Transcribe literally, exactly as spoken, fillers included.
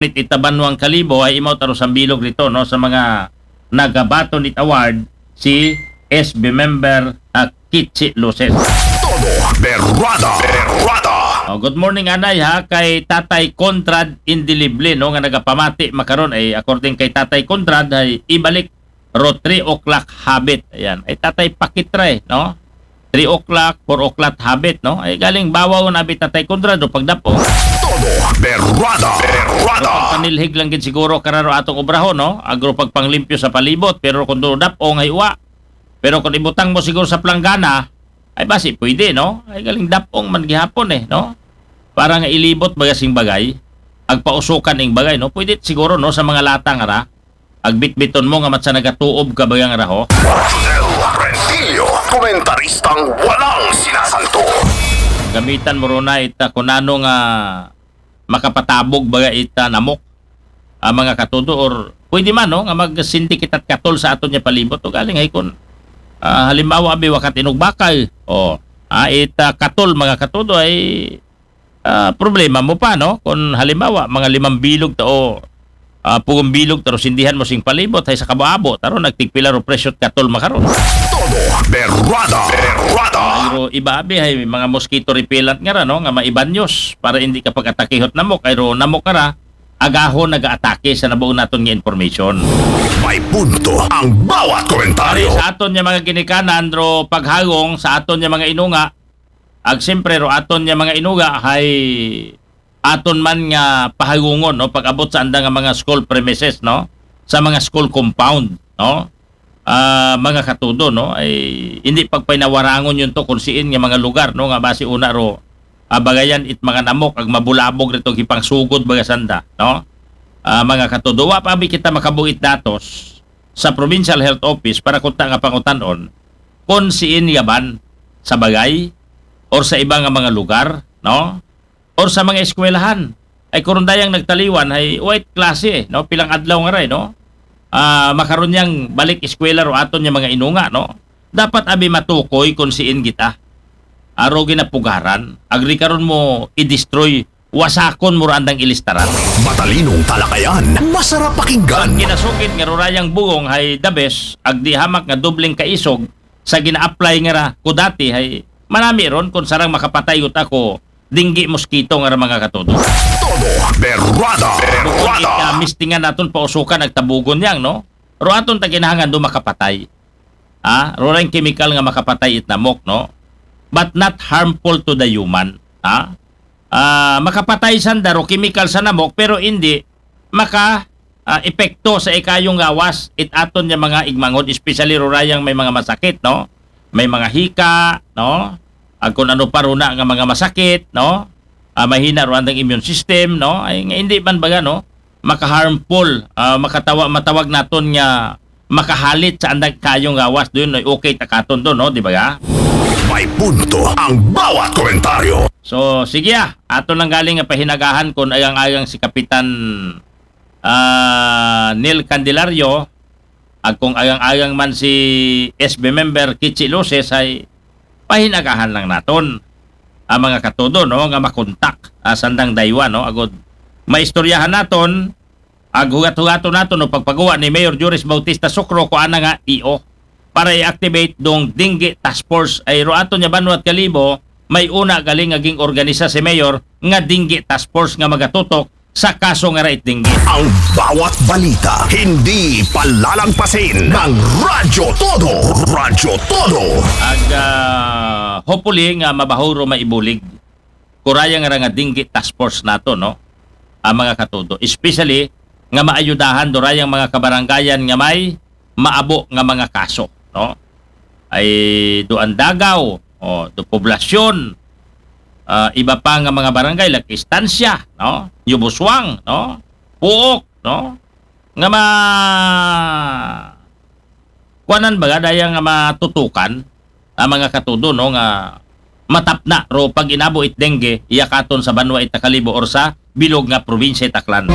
Nit ita banwang Kalibo ay imaw taro sang bilog dito, no, sa mga nagabaton it award si S B member, ah, Kichi Luces. Todo Berwada, Berwada. Oh, good morning, anay, ha, kay Tatay Conrad Indelible, no, nga nagapamati makaron ay, according kay Tatay Conrad, ay ibalik ro three o'clock habit. Ayan. Ay, Tatay Pakitray, no? Three o'clock, four o'clock habit, no? Ay, galing bawaw na bi Tatay Conrad o pagdapong. Todo Berwada, Berwada. Pero pagpanilhig lang gid siguro kararo atong obrahon, no? Agro pagpanglimpyo sa palibot, pero kung do dapong ay uwa. Pero kung ibutang mo siguro sa planggana, ay basi pwede, no? Ay, galing dapong man gihapon eh, no? Para nga ilibot baga sing bagay, agpausukan ing bagay, no? Pwede siguro, no, sa mga latang ara, agbitbiton mo nga matsa nagatuob ka baga nga raho. Rosel Rentillo, komentaristang walang sinasanto. Gamitan mo ron na ita kung ano nga makapatabog baga ita namok, ah, mga katudo, or pwede man, no, nga magsindi kita't katol sa aton nga palibot. O galing ay kun, ah, halimbawa, abi, wakat inugbakay. O, ah, ita katol, mga katudo, ay, ah, problema mo pa, no? Kung halimbawa, mga limang bilog ta o, ah, pugong bilog ta ro sindihan mo sing palibot, ay sa kabuabo, taro nagtigpila ro presyo katol makaron. Todo Berwada, Berwada. Ay ro iba, abi, ay mga mosquito repellent nga ra, no? Nga maibanyos para hindi ka pag-atakihot namok, ay ro namok ka ra, agahon nagaatake sa nabuo naton nga information. May punto ang bawat komentaryo. Sa aton nga mga ginikanan, ro paghagong sa aton nga mga inunga, ag siyempre, ro aton nga mga inuga, hay aton man nga pahagungon, no, pag-abot sa anda nga mga school premises, no, sa mga school compound, no, ah, mga katudo, no, ay hindi pagpinawarangon yun to kung siin nga mga lugar, no, nga basi una ro, ah, bagayan it mga namok ag mabulabog rito gipangsugod baga sanda, no, ah, mga katudo. Wa pa bi kita makabuhit datos sa Provincial Health Office para kunta nga pangutan-on kung siin nga ban sa bagay or sa iba nga mga lugar, no? Or sa mga eskwelahan. Ay kurundayang nagtaliwan, ay wait klase, no? Pilang adlaw nga ray, no? Ah, makaron yang balik eskwela ro aton nga mga inunga, no? Dapat abi matukoy kung siin kita. Aro ginapugaran, agri karon mo i-destroy, wasakon mo ra andang ilistaran. Matalinong talakayan, masarap pakinggan. Kinasugid nga rurayang bugong hay the best, agdi hamak nga dobleng kaisog sa gina-apply nga ra ko dati hay manami ron kung sarang makapatay ut ako dinggi mosquito nga ra mga katudo. Todo Berwada, Berwada. Ika mistingan naton pausukan nagtabugon yang, no? Ro aton ta ginahangan do makapatay. Ah, ro lang chemical nga makapatay it namok, no? But not harmful to the human. Ah? Ah, makapatay sanda ro chemical sa namok, pero hindi maka, ah, epekto sa ikayong gawas it aton nga mga igmanghod, especially rurayang may mga masakit, no? May mga hika, no? Ag kung ano pa runa nga mga masakit, no? Ah, mahina ro andang immune system, no? Ay, nga hindi man baga, no? Maka-harmful, ah, makatawa-, matawag naton nga makahalit sa andang kayong gawas, doon ay okay ta katon doon, no? Di ba ga? May punto ang bawat komentaryo. So, sige, ah, ato lang galing nga pahinagahan kung agang-agang si Kapitan, ah, Neil Candelario, ag kung agang-agang man si S B member Kichi Luces, ay pahinagahan lang naton ang mga katudo, no, nga makontak, ah, sandang daywa, no, agud maistoryahan naton ag hugat-hugaton naton no pagpaguwa ni Mayor Joris Bautista Socro ko ana nga E O para i-activate dong dengue task force. Ay ro aton nga banwa at Kalibo, may una galing nga ging-organisa si Mayor nga dengue task force nga magatutok sa kaso nga rait dengue. Ang bawat balita, hindi palalangpasin ng Radyo Todo. Radyo Todo. Ag, ah, hopefully nga mabaho ro maibulig. Kuraya nga ra nga dengue task force nato, no? Ang mga katudo. Especially nga maayudahan do rayang mga kabarangayan nga may maabo nga mga kaso, no? Ay do Andagaw, o do Poblacion, ah, iba pa nga mga barangay like Estancia, no? New Busuang, no? Puok, no? Nga ma-, kuanan ba, daya nga matutukan ang mga katudo, no, nga matapna ro pag inabo it dengue, iya katon sa banwa it Kalibo or sa bilog nga probinsya it Aklan.